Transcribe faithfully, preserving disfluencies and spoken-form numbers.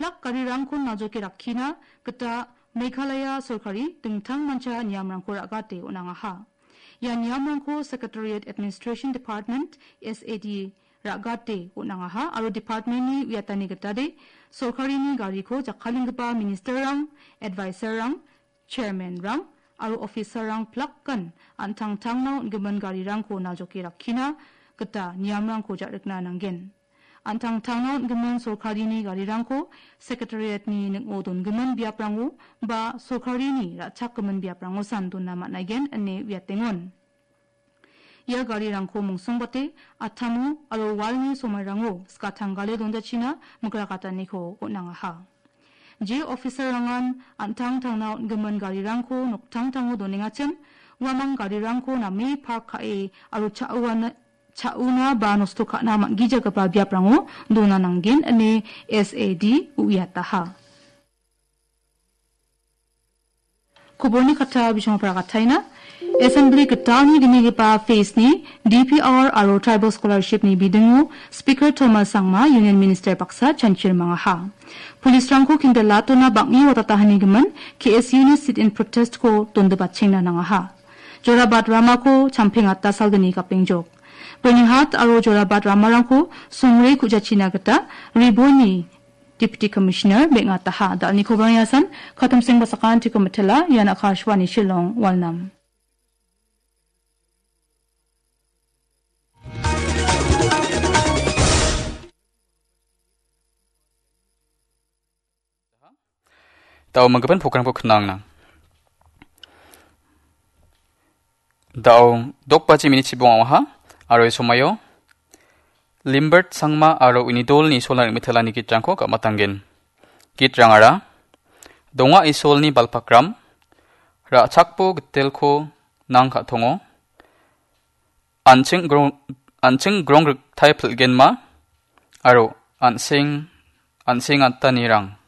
Plak garirangko naljoke rakkina gita Meghalaya sorkari dingtangmancha niamrangko ra·gate on·angaha. Ia niamrangko Secretariat Administration Department, S A D, ra·gate on·angaha aro department-ni uiatani gitade sorkarini gariko jakkalenggipa ministerrang, adviserrang, chairmanrang aro officerrang plakan an·tangtangna on·gimin garirangko naljoke rakkina gita niamrangko ja·rikna nanggen. An·tangtangna on·gimin sorkarini garirangko Secretariat-ni ning·o dongimin biaprango ba sorkarini ra·chakgimin biaprangosan dona man·aigen ine uiatengon. Ia garirangko mongsongbate atamo aro walni somairango skatanggale donjachina migrakataniko on·angaha. Je officerrangan an·tangtangna on·gimin garirangko noktangtango donengachim, uamang garirangko name park ka·e aro cha·uana-, cha·una ba nosto ka·na man·gijagipa biaprango dona nanggen ine S A D uiataha. Koborni kata bisongapara kataina. Assembly gitalni gimigipa phase-ni D P R aro Tribal Scholarship-ni bidingo Speaker Thomas Sangma Union Minister baksa chanchir mangaha. Police-rangko kindelatona bang·e watatahanigimin K S U-ni sit-in protest-ko dondipachengna nangaha. Jorabat ramako champengata salgni gapengjok. Bernihad aro Jorabat ramarangko songre ku·jachina gita Riboni Deputy Commissioner beng·ataha. Dalni kobrang yasan, katamseng basakantiko mitela, ian Akashvani Shillong, Walnam. Da·o manggipan programko knangna. Da·o dok baji minit chibong awaha, aro ia somaio Limbert Sangma aro uni dolni solan rimitelani gitrangko gamatanggen. Gitrangara, Donga Isolni balpakram, Ra·chakbo gitelko nang ka·tongo, An·ching grong-, an·ching grong riktai pil·genma, aro an·seng, an·sengatanirang.